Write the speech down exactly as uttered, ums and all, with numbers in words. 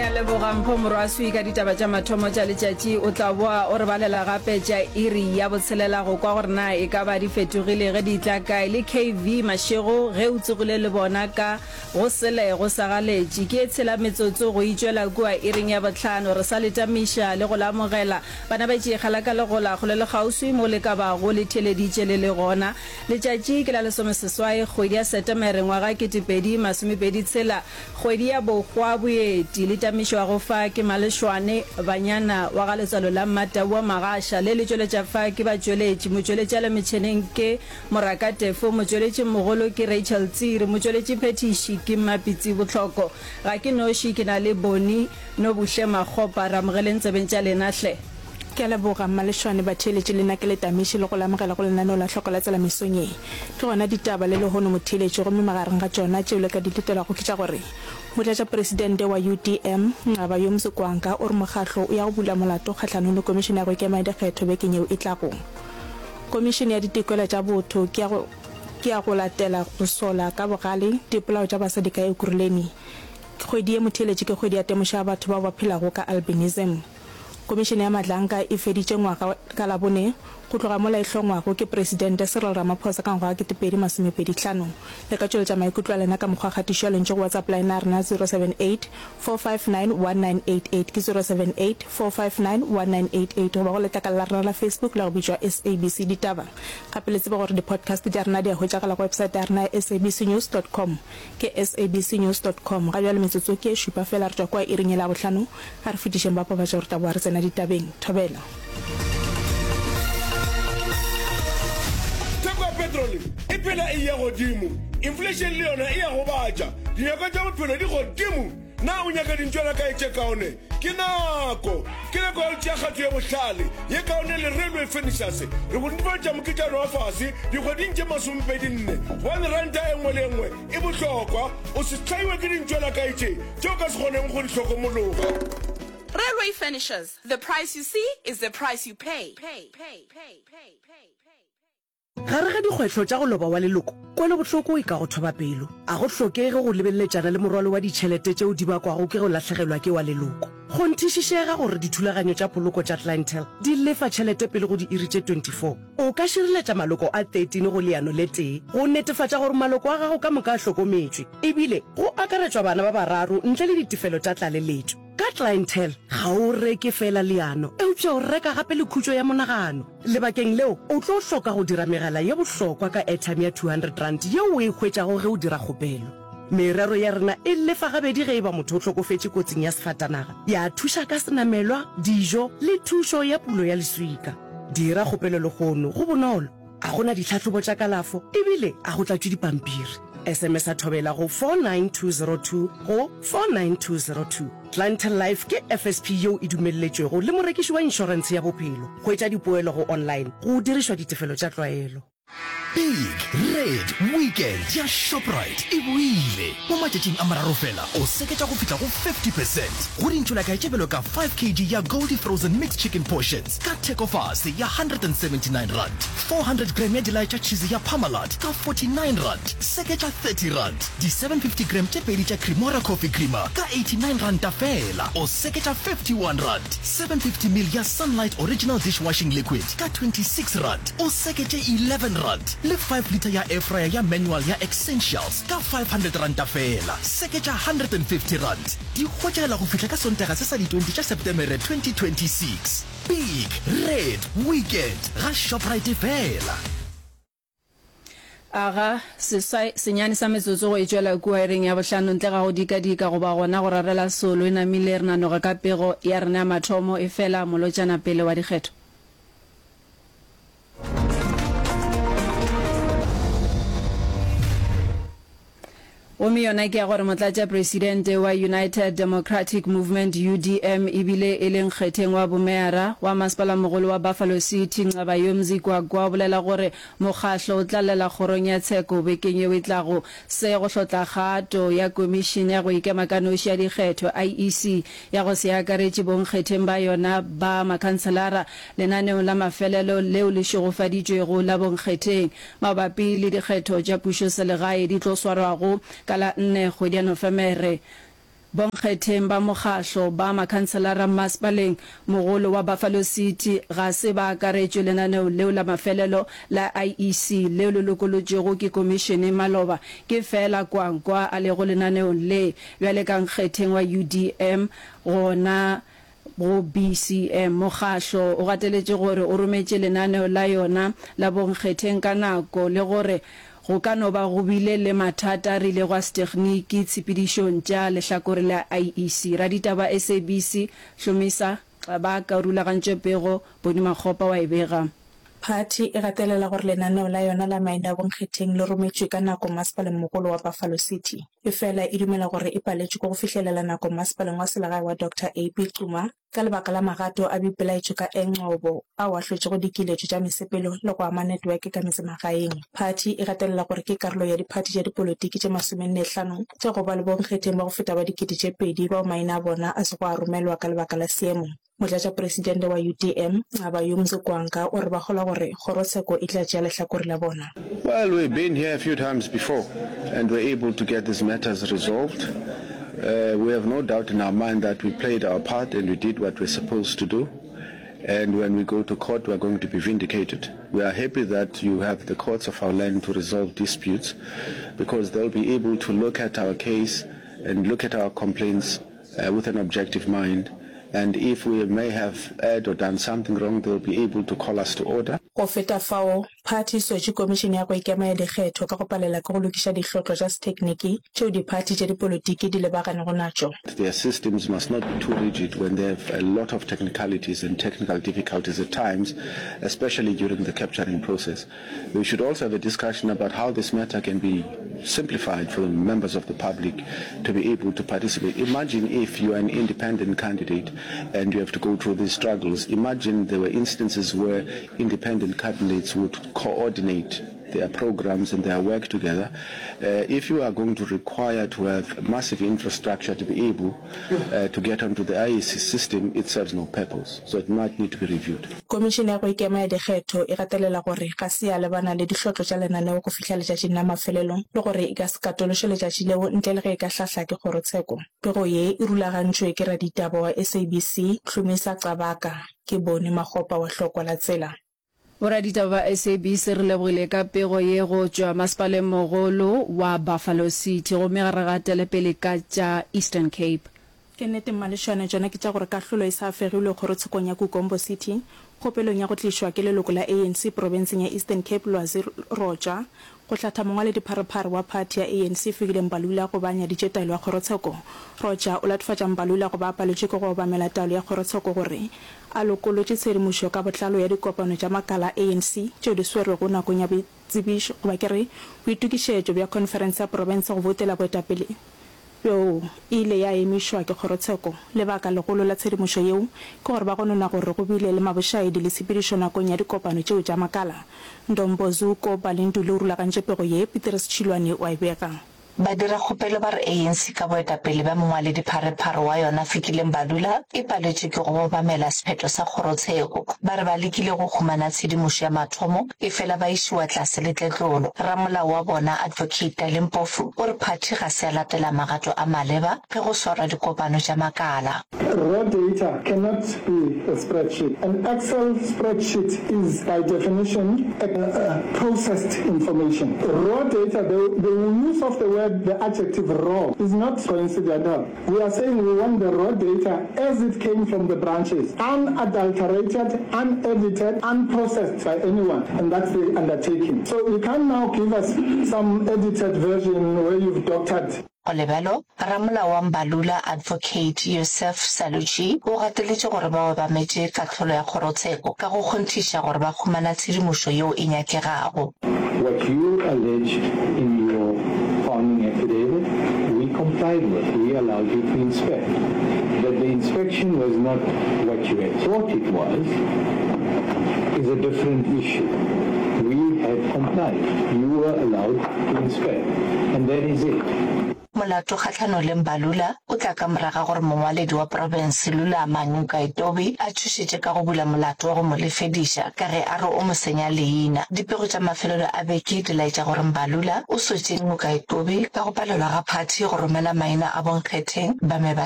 Re a leboga Mpho Morwaswi ka ditaba tša mathomo tša letšatši. O tla boa o re balela gape tša iri ya botshelela go kwa gore na e ka ba di fetogile ge di tla kae. Le K V Mashego ge o tsogile le bona ka go sele go sa galetše. Ke e tshela metsotso go itšwela kua iring ya bohlano. Re sa le tamiša le go le amogela. Bana ba tšeegela ka legola kgole le kgauswi mo le ka bago le theeleditše le le gona. Letšatši ke la lesomeseswai kgwedi ya Setemere ngwaga ketepedi masomepedi tshela, kgwedi ya bohwa boeti. Le tamišwago fa ke Malešwane Banyana wa ga Letswalo la Mmatau wa Magasha. Le le tšweletša fa ke batšweletši. Motšweletši a le metšheneng ke Moraka Tefo, motšweletši mogolo ke Rachel Tsiri, motšweletši phethiši ke Mmapitsi Bohloko. Ga ke noši, ke na le Boni Nobuhle Makgopa. Re amogeleng tsebeng tša lena hle. Ke a leboga, Mmalešwane, batheeletši le nna ke le tamiše le go le amogela go lenaneo la Hloko la Tsela mesong ye. Ke gona ditaba le lehono motheeletši gomme magareng ga tšona tšeo le ka di letelago ke tša gore Motlatšapresidente wa U D M Nqaba Yomzi Kwankwa o re mokgahlo o ya go bula molato kgahlanong le Komišene ya go Ikema ya Dikgetho bekeng yeo e tlago. Komišene ya Ditokelo tša Botho ke ya go ke ya go latela go sola ka bogale dipolao tša basadi ka Ekurhuleni. Kgwedi ye motheeletši ke kgwedi ya temošo ya batho bao ba phelago ka albinism. Komišene ya Madlanka e feditše ngwaga ka Labone go tloga mola e hlongwago ke Presidente Cyril Ramaphosa ka ngwaga wa ketepedi masomepedi hlano. Le ka tšweletša maikutlo a lena ka mokgwa wa kgatišo ya lentšu go WhatsApp line ya rena zero seven eight, four five nine, one nine eight eight, ke zero seven eight, four five nine, one nine eight eight, goba go letlakala la rena la Facebook la go bitšwa S A B C Ditaba. Gape le tsebe gore di-podcast tša rena di a hwetšagala go website ya rena ya S A B C news dot com, ke S A B C news dot com. Ga bjale metsotso ke e šupa fela re tšwa kua iring yela ya bohlano. A re fetišeng ba pabatša gore tla boa re tsena ditabeng. Thobela. Theko ya petrole e phela e ya godimo, inflation le yona e ya gobatša, dinyakwa tša bophelo di godimo. Na o nyaka dintšwana kae tše kaone? Ke nako, ke nako ya go tšea kgato ye bohlale, ye kaone le Railway Furnitures. Re go netefaletša moketšana wa fase dikgweding tše masomepedi nne, gobane ranta e nngwe le e nngwe e bohlokwa. O se hlaiwe ke dintšwana kae tše tše o ka se kgoneng go di hlokomologa. Railway Furnitures, the price you see is the price you pay. Pay, pay, pay, pay, pay. Gare ga dikgwetlho tša go loba wa leloko, kwelobohloko e ka go thoba pelo. A go hlokege go lebeletšana le morwalo wa ditšhelete tšeo di bakwago ke go lahlegelwa ke wa leloko. Kgonthišišega gore dithulaganyo tša poloko tša Clientele di lefa tšhelete pele go diiri tše twenty-four. O ka šireletša maloko a thirteen go leano le tee go netefatša gore maloko a gago ka moka a hlokometšwe, ebile go akaretšwa bana ba bararo ntle le ditefelo tša tlaleletšo. Ka Clientele, ga o reke feela leano, eupša o reka gape le khutšo ya monagano. Lebakeng leo, o tlo hloka go dira megala ye bohlokwa ka airtime ya two hundred rand yeo o e hwetšago ge o dira kgopelo. Merero ya rena e lefa gabedi ge e ba motho o hlokofetše kotsing ya sefatanaga, ya thuša ka senamelwa, dijo le thušo ya pulo ya leswika. Dira kgopelo lehono, go bonolo, a go na ditlhahlobo tša kalafo ebile a go tlatšwe dipampiri. S M S a thobela go four nine two zero two go four nine two zero two. Clientele Life ke F S P yeo e dumelletšwego le morekiši wa inšorentshe ya bophelo. Hwetša dipoelo go online go dirišwa ditefelo tša tlwaelo. Big Red Weekend ya Shoprite e boile. Mo matšatšing a mararo fela, o seketša go fihla go fifty percent go dintšolakae tše bjalo ka five kilograms ya Goldie Frozen Mixed Chicken Portions ka theko fase ya one hundred and seventy-nine rand, four hundred gram ya dilae tša cheese ya Parmalat ka forty-nine rand, seketša thirty rand, di seven hundred fifty gram tše pedi tša Cremora Coffee Creamer ka eighty-nine rand fela, o seketša fifty-one rand, seven hundred fifty mil ya Sunlight Original Dishwashing Liquid ka twenty-six rand, o seketše eleven rand, le five litre ya air fryer ya manual ya Essentials ka five hundred rand fela, seketša one hundred and fifty rand. Di hwetšagala go fihla ka Sontaga se sa di twenty tša Setemere twenty twenty-six. Big Red Weekend ga Shoprite fela. Aga seswai senyane sa metsotso go e tšwela kua iring ya bohlano ntle ga go dikadika goba gona go rarela solo e namile re nanoga ka pego ya rena ya mathomo efela molotšana pele wa dikgetho. Gomme yona ke ya gore motlatšapresidente wa United Democratic Movement, U D M, ebile e le nkgetheng wa bomeyara wa masepalamogolo wa Buffalo City, Nqabayomzi Kwankwa, o bolela gore mokgahlo o tla llela kgorong ya tsheko bekeng yeo e tlago. Se go hlotla kgato ya Komišene ya go Ikema ka Noši ya Dikgetho, I E C, ya go se akaretše bonkgetheng ba yona ba makhanselara lenaneong la mafelelo leo le šegofaditšwego la bonkgetheng mabapi le dikgetho tša pušoselegae di tlo swarwago ka la nne kgwedi ya Nofemere. Bonkgetheng ba mokgahlo ba makhanselara Masepaleng Mogolo wa Buffalo City ga se ba akaretšwe lenaneong leo la mafelelo la I E C leo le lokolotšwego ke komišene maloba. Ke feela Kwankwa a lego lenaneong le bjale ka nkgetheng wa U D M gona go B C M. Mokgahlo o gateletše gore o rometše lenaneo la yona la bonkgetheng ka nako le gore go ka no ba go bile le mathata a rilego a setegniki tshepedišong tša lehlakore la I E C. Raditaba S A B C Hlomisa Xabaka o rulagantše pego, Boni Makgopa wa e bega. Phathi e gatelela gore lenaneo la yona la maina a bonkgetheng le rometšwe ka nako Masepalengmogolo wa Buffalo City. Efela e dumela gore e paletšwe ke go fihlelela nako Masepaleng wa Selegae wa Doctor A P Xuma ka lebaka la magato a boipelaetšo ka Engcobo ao a hlotšego dikiletšo tša mesepelo le go ama network ka metsemagaeng. Phathi e gatelela gore ke karolo ya diphathi tša dipolotiki tše masomenne hlano tša go ba le bonkgetheng ba go feta ba dikete tše pedi bao maina a bona a sego a romelwa ka lebaka la seemo. Motlatšapresidente wa U D M, Nqabayomzi Kwankwa, o re ba kgolwa gore kgorotsheko e tla tšea lehlakore la bona. Well, we've been here a few times before and we're able to get these matters resolved. Uh, we have no doubt in our mind that we played our part and we did what we're supposed to do. And when we go to court, we're going to be vindicated. We are happy that you have the courts of our land to resolve disputes because they'll be able to look at our case and look at our complaints uh, with an objective mind. And if we may have erred or done something wrong, they'll be able to call us to order. Go feta fao, phathi e sotše Komišene ya go Ikema ya Dikgetho ka go palela ke go lokiša dihlotlo tša sethekniki tšeo diphathi tša dipolotiki di lebaganego natšo. Their systems must not be too rigid when they have a lot of technicalities and technical difficulties at times, especially during the capturing process. We should also have a discussion about how this matter can be simplified for the members of the public to be able to participate. Imagine if you are an independent candidate and you have to go through these struggles. Imagine there were instances where independent candidates would coordinate their programs and their work together. Uh, if you are going to require to have massive infrastructure to be able uh, to get onto the I E C system, it serves no purpose. So it might need to be reviewed. Komišene ya go Ikema ya Dikgetho e gatelela gore ga se ya lebana le dihlotlo tša lenaneo go fihla letšatšing la mafelelo le gore e ka se katološe letšatši leo ntle le ge e ka hlahla ke kgorotsheko. Pego ye e rulagantšwe ke raditaba wa S A B C Hlumisa Qabaka. Ke Boni Makgopa wa Hlokwa la Tsela. Boraditaba ba S A B C re lebogile ka pego ye go tšwa Masepaleng Mogolo wa Buffalo City gomme ga re gatele pele ka tša Eastern Cape. Ke nnete Mmalešwane, tšona ke tša gore kahlolo e sa fegilwe kgorotshekong ya Kukombo City kgopelong ya go tlišwa ke leloko la A N C profenseng ya Eastern Cape Lwazi Roja go hlatha mongwaledipharephare wa phathi ya A N C Fikile Mbalula go ba nyaditše taelo ya kgorotsheko. Roja o latofatša Mbalula go ba a paletšwe ke go obamela taelo ya kgorotsheko gore a lokolotše tshedimošo ka botlalo ya dikopano tša makala a A N C tšeo di swerwego nakong ya boitsebišo goba ke re boitokišetšo bja khonferense ya profense go boutela boetapele bjoo e ile ya emišwa ke kgorotsheko. Lebaka legolo la tshedimošo yeo ke gore ba gonona gore go bile le mabošaedi le tshepedišo nakong ya dikopano tšeo tša makala. Ndombozuko Balinduli o rulagantše pego ye, Petrus Tšhilwane o a e bega. Badirakgopelo ba re A N C ka boetapele bja mongwaledipharephare wa yona Fikile Mbalula e paletšwe ke go obamela sephetho sa kgorotsheko. Ba re ba lekile go humana tshedimošo ya mathomo efela ba išiwa tlase le tletlolo. Ramolao wa bona Advocate Dali Mpofu o re phathi ga se ya latela magato a maleba ge go swarwa dikopano tša makala. Raw data cannot be a spreadsheet. An Excel spreadsheet is by definition a, a processed information. Raw data, the, the use of the word, the adjective raw, is not coincidental. We are saying we want the raw data as it came from the branches, unadulterated, unedited, unprocessed by anyone, and that's the undertaking. So you can't now give us some edited version where you've doctored. Go le bjalo, ramolao wa Mbalula Advocate Yusuf Saluji o gateletše gore ba obametše kahlolo ya kgorotsheko ka go kgonthiša gore ba humana tshedimošo yeo e nyakegago. What you alleged in your founding affidavit, we complied with. We allowed you to inspect. That the inspection was not what you had thought it was is a different issue. We had complied. You were allowed to inspect. And that is it. Molato kgahlanong le Mbalula o tla ka morago ga gore mongwaledi wa profense Lulama Ngcukaitobi a tšhošetše ka go bula molato wa go mo lefediša ka ge a re o mo senya leina. Dipego tša mafelelo a beke di laetša gore Mbalula o sotše Ngcukaitobi ka go palelwa ga phathi go romela maina a bonkgetheng ba me ba